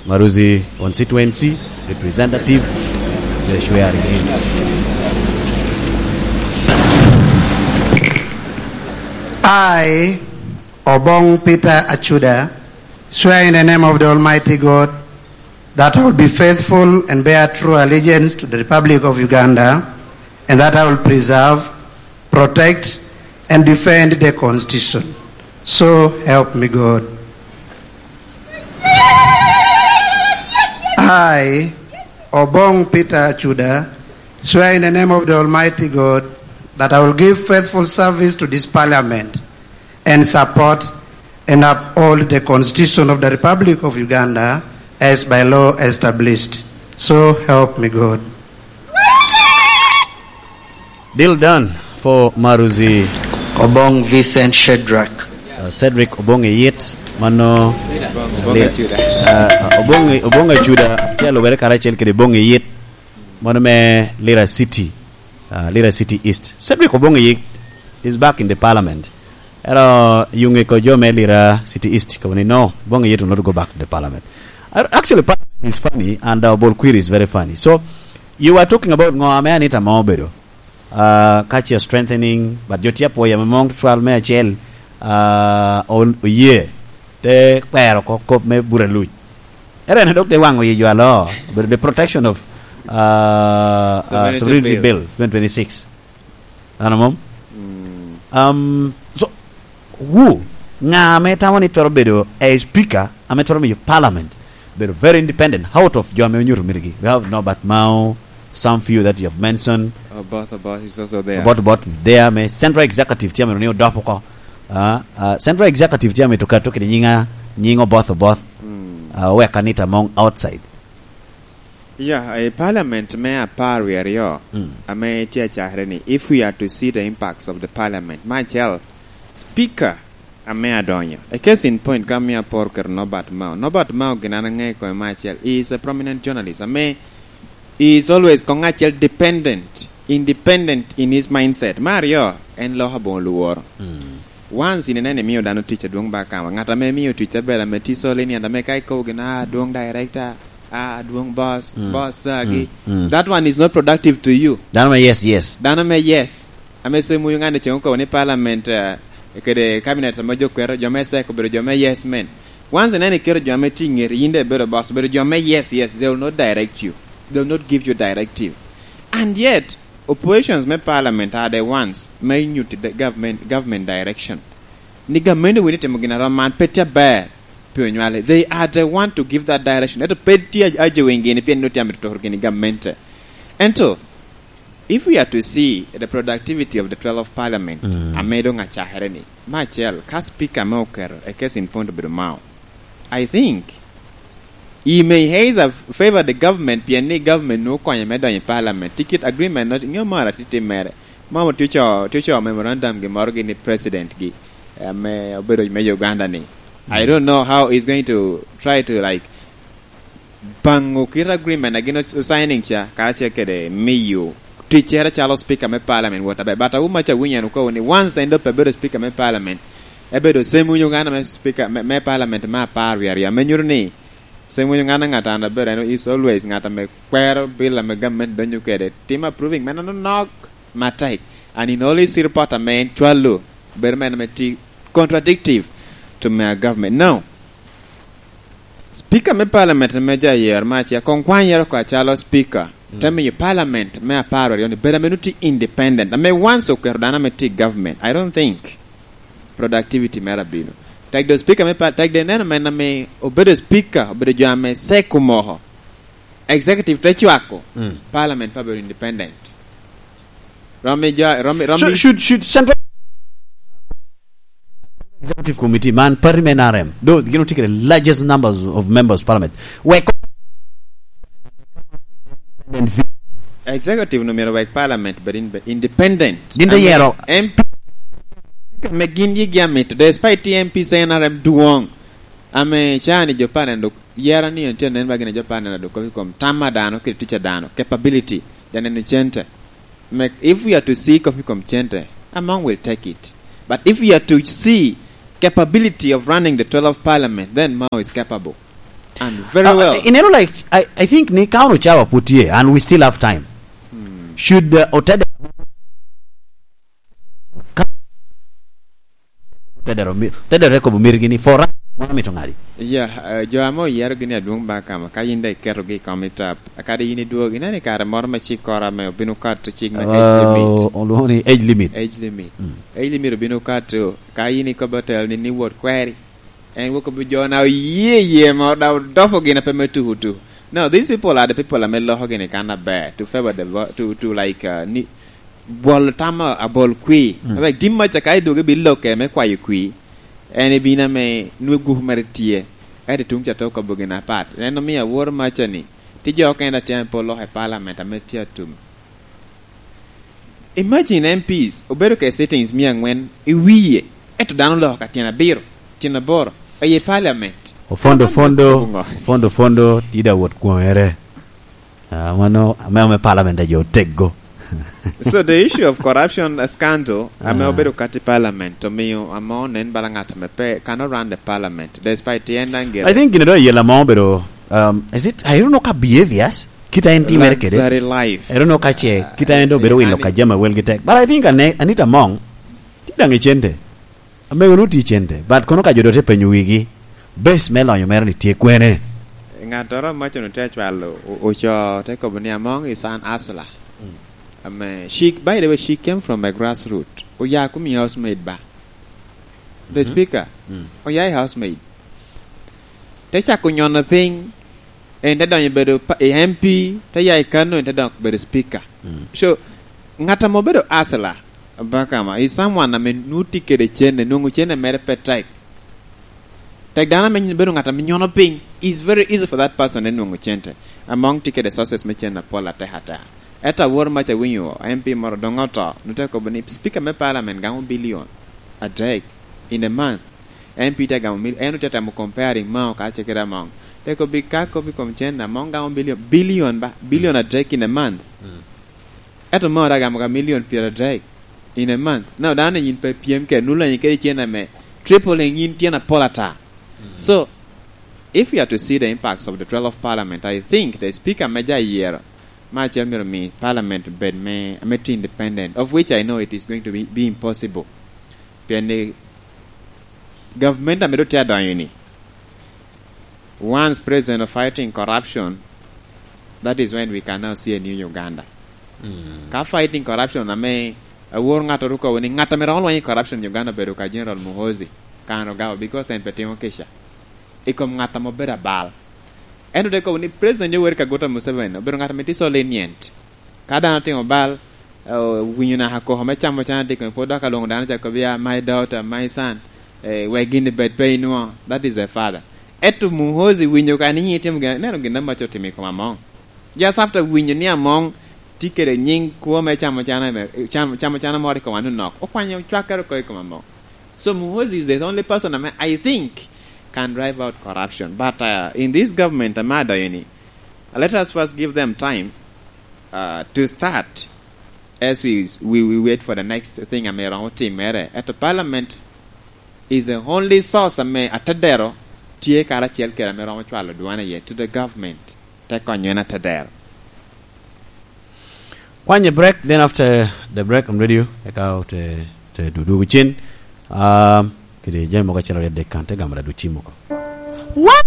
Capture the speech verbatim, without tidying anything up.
Maruzi constituency representative, the swearing in. I, Obong Peter Achuda, swear in the name of the Almighty God that I will be faithful and bear true allegiance to the Republic of Uganda, and that I will preserve, protect, and defend the Constitution. So help me God. I, Obong Peter Achuda, swear in the name of the Almighty God that I will give faithful service to this Parliament and support and uphold the Constitution of the Republic of Uganda as by law established. So help me God. Deal done for Maruzi. Obong Vincent Shedrack. Uh, Cedric Obong Eyit, mano Obong Eyit. Uh, Obong, Obong Achuda tye alubere karacel kede Obong Eyit, mano me Lira City, uh, Lira City East. Cedric Obong Eyit is back in the parliament. Ero yuŋe ko jo me Lira City East ko ni, "No, Obong Eyit will not go back to the parliament." Uh, actually, parliament is funny and, uh, Bol Query is very funny. So, you were talking about ŋo ame Anita Among obedo. Ah, ka ce strengthening, but jo tye apwoyo ame mom tutwal me acel, ah, o-, oye, te kwero oko kop me Bura Luc. Ere en dok te waŋo yi jo alo, obedo the protection of, ah, ah, Sovereignty Sovereignty Bill. Bill twenty twenty-six. Ano mom? Mm. Um, so, Wu, ŋa ame tamo ni twero bedo a speaker ame twero miyo parliament bedo very independent out of jo ame onyuto mitigi? We have Norbert Mao, some few that you have mentioned. Oboth Oboth is also there. Oboth Oboth is there, me central executive tye ame ni odop oko. Ah, ah, central executive tye ame to kato kede nyinga, nying Oboth Oboth. Mm. Ah, wek Anita Among outside. Yeah, i parliament me apar wie aryo, mm, ame tye acakere ni, if we are to see the impacts of the parliament, me acel, speaker ame adonyo. A case in point, ka miyo apor keto Norbert Mao. Norbert Mao gin an aŋeyo kome me acel. He is a prominent journalist. Ame he is always koŋ acel dependent, independent in his mindset. Me aryo, en loko aboŋo lworo. Mm. Once in ineno imio dano tic adwoŋ ba kama, ŋat ame mio tic abel ame tye solid ni, ame ka ikobo gin, "Ah, adwoŋ director, ah, adwoŋ boss, mm, boss, ah, gi." Mm, mm. That one is not productive to you. Dano me yes, yes. Dano me yes. Ame Semuyo ŋan ceŋ okobo ni parliament, eh, kede cabinet ame jo kwero, jo me sek obedo jo me yes men. Once ineno iketo jo ame tye i ŋeti, yin de ibedo boss, obedo jo me yes, yes, they will not direct you. They will not give you directive. And yet, oppositions me parliament are the ones me nyutti the government, government direction. Ni gamente wini timo gin arom man pe tye aber pi onywale. They are the one to give that direction. Ento pe tye a-, aje wing gini pien nut yam ituturo gini gamente. Ento, if we are to see the productivity of the twelve parliament, mm, ame doŋ acakere ni, me acel, ka speaker me oketo, a case in point obedo Mao. I think he may either favor the government, pien ni government nwoŋo konye me donyo i parliament. Ticket agreement no, ŋeo moro atye timmere. Mom otye co, tye co memorandum gi moro gi ni president gi, eh, ame obedo me Uganda ni. I, mm, don't know how he's going to try to, like, baŋo kit agreement a gin o-, signing ca, karacel kede miyo ticcere calo speaker me parliament wot aber. But awuma ca winyo en okobo ni once en dope bedo speaker me parliament, ebedo Semuyo ŋan ame speaker me, me parliament me apar wie aryo, ame nyuto ni Semuyo ŋan ŋat an aber, en is always ŋat ame kwero bill ame government donyo kede, tim approving men anonok matek. And in all his report ame en cwalo, bedo men ame ti contradictive to me government. Now, Speaker me parliament ame ja yer me acel, koŋ kwan yero oko acalo speaker, mm, te miyo parliament me apar aryo ni bedo ame nut tye independent, ame once oketo dano ame tye i government, I don't think productivity mere abino. Tek do speaker me par-, tek do ineno men ame obedo speaker, obedo jo ame sek omoko. Executive te cwako, mm, parliament pa bedo independent. Romi jo, romi, romi. Should, should, should Central Executive Committee, man party me N R M, though gin otye kede largest numbers of members of parliament. Wek Executive no myero wek parliament bed in-, independent. Gin te yero. Em-, speaker me gin yigi amito, despite T M P C N R M dwoŋ. Ame cani jo pa neno dok yera ni en tye nen ba gin jo pa neno dok i kom tam a dano kede tic a dano, capability, ja neno cente. Mek, if we are to see kopi kom cente, Among will take it. But if we are to see capability of running the twelve parliament, then Mao is capable. And very Uh, well. You know, like, I, I think ni ka ono cawa put tye, and we still have time. Should, uh, Otede, Otede Romi-, Otede Rekobo mirgi ni for us, mano mito ngadi? Yeah, uh, jo ame oyero gini adwong ba kama, ka yin da iketogi i kom i tap, kadi yin idwogo, ineno i kare moro me cik kora me obino kato cik me age limit. Oh, olwongo ni age limit. Age limit. Mm. Age limit obino kato, ka yin ikobo telo ni, ni wot kweri. En wok obi jo na oye ye mo da odopo gin ape me tuku tu. No, these people are the people ame loko gini kan aber to favor the vo-, to, to like, uh, ni, bwolo tam a-, abol kwi. Mm. Like, dim maca ka idwogo ibi loke me kwayo kwi, en ibino ame nwe gupu mere tye. Ento tuŋ ca to kobo gin apat. En omio awor maca ni, ti jo okene atye ame pe oloko i parliament ame tye atum. Imagine M Ps obedo ke sittings mia angwen i wiye, ento dano oloko ka tyen abiro, tyen aboro, aye parliament. Ofondo, fondo, Bungo. Fondo, fondo, tida wot kwongere. Ah, mano, ame, ame parliament a jo oteggo. So the issue of corruption, a scandal, ame Ah. obedo kati parliament, omiyo amo nen bala ngat ame pe, cannot run the parliament, despite the end and I think gine do yela mo obedo, um, is it, I don't know ka behaviors, kita en timere kede. Luxury life. I don't know ka ce, kita en do bedo Ah, wilo ka jama wel gi tek. But I think Ane-, Anita Among, ti daŋ i cente. Amego nu ti cente. But kono ka jo do te penyo wigi, base me lonyo mere ni tye kwene? Ŋattoro amaco nu te acwalo, o-, oco, te kobo ni Among is an hustler. Mm. Ame, she, by the way, she came from a grassroot. Oya kumi housemaid ba. The Mhm. speaker, Mm. oya i housemaid. Te cako nyono piny, en te donyo bedo pa-, i M P, te ya i Kano, en te dok bedo speaker. Mm. So, ŋat ame obedo hustler, Bakama, is someone ame nwoŋo tye kede cene, nwoŋo cene mere pe tek. Tek dano ame bedo ŋat ame nyono piny, is very easy for that person en nwoŋo cente. Among tye kede sources me cene apol atek ateka. Ento awor maca awinyo M P moro doŋ oto, nwoŋo te kobo ni speaker me parliament gamo billion adek in a month. M P tye gamo mil-, en otye temo comparing Mao ka ce kede Among. Te kobo ka kobo i kom cen, Among gamo billion, billion ba, billion adek in a month. Mm. Ento Mao daŋ gamo ka million pyeradek in a month. Now, dano yin pe pyem kede, nwoŋo lanyi kede cen ame tripling yin tyen apol ata. Mm. So, if we are to see the impacts of the twelfth parliament, I think the speaker me ja yero, ma acel myero mi parliament bed me, me tye independent, of which I know it is going to be, be impossible. Pien ni government ame doŋ tye adonyo ni, once president of fighting corruption, that is when we can now see a new Uganda. Mm. Ka fighting corruption ame awor ŋat oruko ni ŋat ame romo lweny i corruption in Uganda obedo ka General Muhoozi Kainerugaba, because en pe timo kica i kom ŋat ame obedo abal. En ote kobo ni President Yoweri Kaguta Museveni obedo ŋat ame tye so lenient. Ka dano otimo bal, eh, winyo naka koko me camo can atika, pwod dok alwoŋo dano ca kobo ya, "My daughter, my son," eh, wek gin bed pe inwo. That is a father. Ento Muhoozi winyo ka ni nyi timo gin, neno gin amaco timo i kom Among. Just after winyo ni Among tye kede nying kwo me camo can, cam-, camo can moro i kom anonok, okwanyo cwakkere oko i kom Among. So Muhoozi is the only person ame I think can drive out corruption. But, uh, in this government ame adonyo ni, uh, let us first give them time, uh, to start as we, we, we wait for the next thing ame romo timere. Ento parliament is the only source ame atedero tye karacel kede ame romo cwalo dwane iye to the government. Te konyo en atedero. Kwanye break, then after the break on radio, eka te, te dudu cen. Um, kede jami mogo acel aryo adek kan, te gamo da du cim oko. Wan